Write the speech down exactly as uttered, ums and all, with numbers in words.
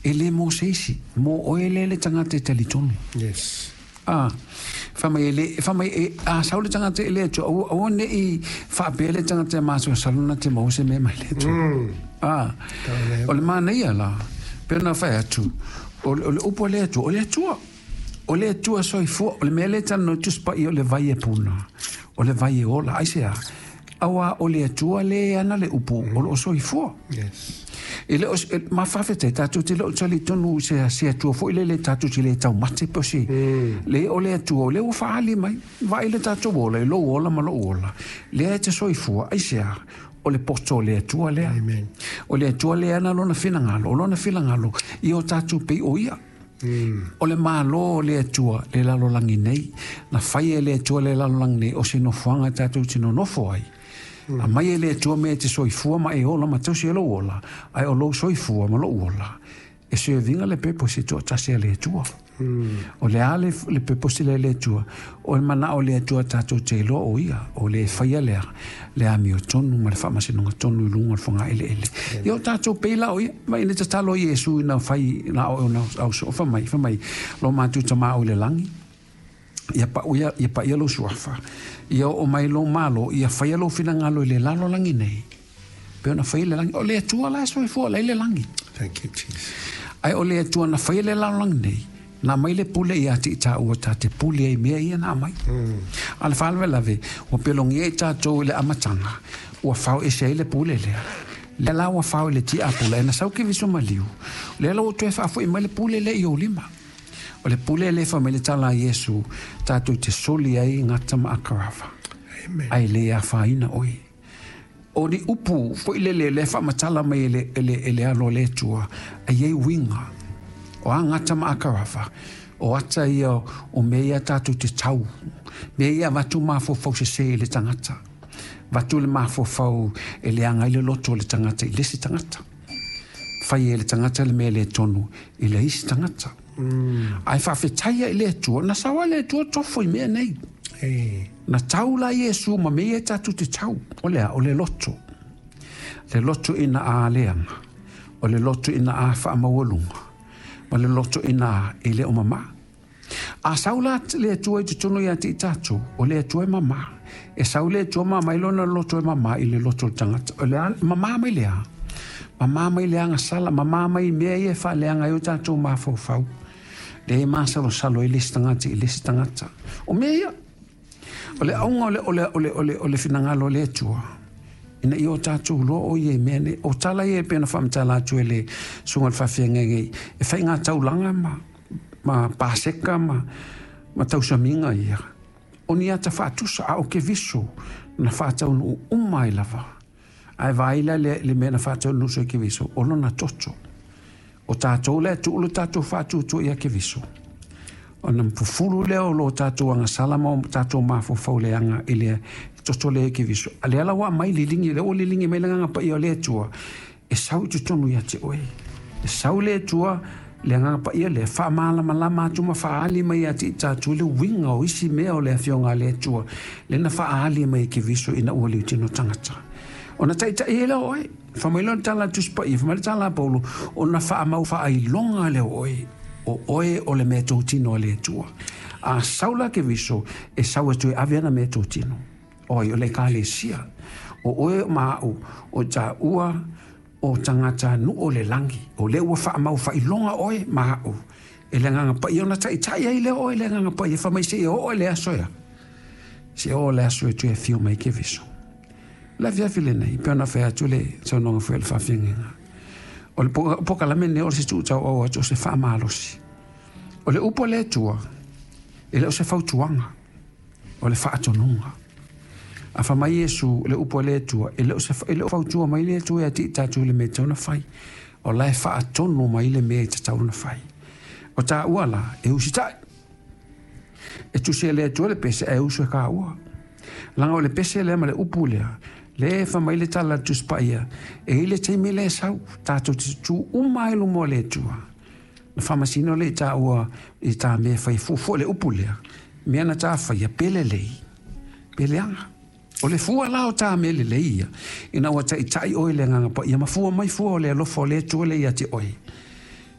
E le mo se isi, mo oe lea le tagata e talitonu. Yes. Ah, fai mai e le, fai mai e, a sau le tagata i le Atua, aua, aua ne i faapea le tagata e masalosalo na te maua se mea mai le Atua. Mm. Ah, o le manaia la, pei ona fai atu, o le, o le upu a le Atua, o le Atua. O le Atua soifua, o le mea lea e talanoa i Tusi Paia o le vai e puna, o le vai e ola, aisea? Auā o le Atua lea e ana le upu o loo soifua. Yes. E le o, e, ma faafetai, tatou te le o talitonu i se, se Atua foi lele tatou te le taumate pe o se, Mm. le o le Atua, o lea ua faaali mai, vaai le tatou ola, i lou ola ma lou ola, lea e te soifua, aisea? O le poto o le Atua lea. Amen. O le Atua lea ana lona finagalo, o lona finagalo, ia o tatou pei o ia. Mm. O le Malo o le Atua le lalolagi nei, na fai e le Atua le lalolagi nei, o se nofoaga tatou te nonofo ai. Mm. Aumai e le Atua mea e te soifua ma e ola ma tausi ai lou ola, ae o lou soifua ma lou ola, e serviga le purpose e toatasi a le Atua. Mm. O le a le, le purpose lea e le Atua, o le manao o le Atua tatou te iloa o ia, o le faia lea, le amiotonu ma le faamasinoga tonu i luga o le fogaeleele. Ia o tatou pei la o ia, ma ina tatalo Iesu ina fai na o na au so fa mai, fa mai, lo matou Tamā o i le lagi, ia pau ia, ia paia lou suafa, ia oo mai lou malo, ia faia lou finagalo i le lalolagi nei, pe ona faia le lagi. O le Atua la e soifua la i le lagi. Thank you, Jesus. Ae o le Atua na faia le lalolagi nei, na aumai le pule ia te i tāua tā te pule ai mea ia na aumai. Mm. A le faalavelave, ua pelogia i tātou i le amataga, ua fao ese ai le pule lea. Lea la ua fao i le tiapula, e na sau Keriso maliu, lea la ua toe faafo'i mai le pule lea i ou lima. O le pule lea e fai mai le tala a Iesu, tātou te soli ai gata ma akarava. Amen. Ae le afaina oe. O ni upu foi lele lea faamatala mai e le, e le, e le alo o le Atua, e i ai uiga. O a gata ma akarava, o ata ia o mea ia tātou te tau. Mea ia avatu mafaufau sesē i le tagata. Avatu le mafaufau e leaga ai le loto o le tagata i le isi tagata. Fai e le tagata le mea le tonu i le isi tagata. Mm. Ae faafetaia i le Atua, na sau lava le Atua tofo i mea nei. Hey. Na tau la Iesu ma mea ia tatou te tau. O le a, o le loto. Le loto ina a leaga. O le loto ina a faamaualuga. Ma le loto ina e le o mamā. A sau la le Atua i totonu ia te i tatou, o le Atua e mamā. E sau le Atua ma aumai lona loto e mamā i le loto o le tagata. O le a, mamā mai le a. Mamā mai le agasala, mamā mai mea ia e faaleaga ai o tatou mafaufau. Lea e masalosalo ai le isi tagata i le isi tagata. O mea ia, o le auga o le, o le, o le, o le, o le finagalo o le Atua, ina ia o tatou iloa o ia i mea nei. O tala ia e pei ona faamatala atu e le susuga i le faafeagaiga e faiga taulaga ma, ma paseka ma, ma tausamiga ia. O ni ata faatusa, a o Keriso na faataunuu uma ai lava. Ae vaai la le, le mea na faataunuu so i Keriso, o lona toto. O tatou lea tuu le tatou faatuatua ia Keriso. Ona fufulu lea o lo tatou agasala ma o tatou mafaufau leaga i le toto lea i Keriso. A lea la ua aumai liligi, lea ua liligi mai le Agaga Paia o le Atua, e sau i totonu ia te oe. E sau le Atua, le Agaga Paia lea, faamalamalama atu ma faaali mai ia te i tatou le uiga o isi mea o le afioga a le Atua, lea na faaali mai e Keriso ina ua liutino tagata. Ona taitai ai lea o oe. Fai mai lea o le tala a le Tusi Paia, fai mai le tala a Paulo, ona faamau faailoga lea o oe, o oe o le mea totino a le Atua. A sau la Keriso, e sau atu e ave ana mea totino. Oi, o le ekalesia. O oe ma au, o tāua, o tagata nuu o le lagi. O lea ua faamau faailoga oe ma au. E le Agaga Paia ona taitai ai lea oe le Agaga Paia, fai mai seia oo i le aso ea. Seia oo i le aso e toe afio mai Keriso. Le afiafi lenei, pei ona fai atu le saunoaga foi a le faafeagaiga. O le pokalame lenei o se tuutauau atu o se faamalosi. O le upu a le Atua, e le o se fautuaga, o le faatonuga. A fai mai Iesu, le upu a le Atua, e le o se, e le o fautua mai le Atua ia te i tatou i le mea e tatau ona fai. O la e faatonu mai le mea e tatau ona fai. O tāua la, e usitai. E tusi e le Atua le pese, ae usu e kāua. Leaga o le pese lea ma le upu lea, lea e fai mai le tala a le Tusi Paia, e i ai le taimi lea e sau, tatou te tutū uma ai i luma o le Atua. Na faamasino lea i tāua i tā mea e fai fuafua le upu lea, mea na tā faia, pe lelei, pe leaga. O le fua la o tā mea lelei ia, ina ua taitai oe i le Agaga Paia, ma fua mai fua o le alofa o le Atua lea ia te oe.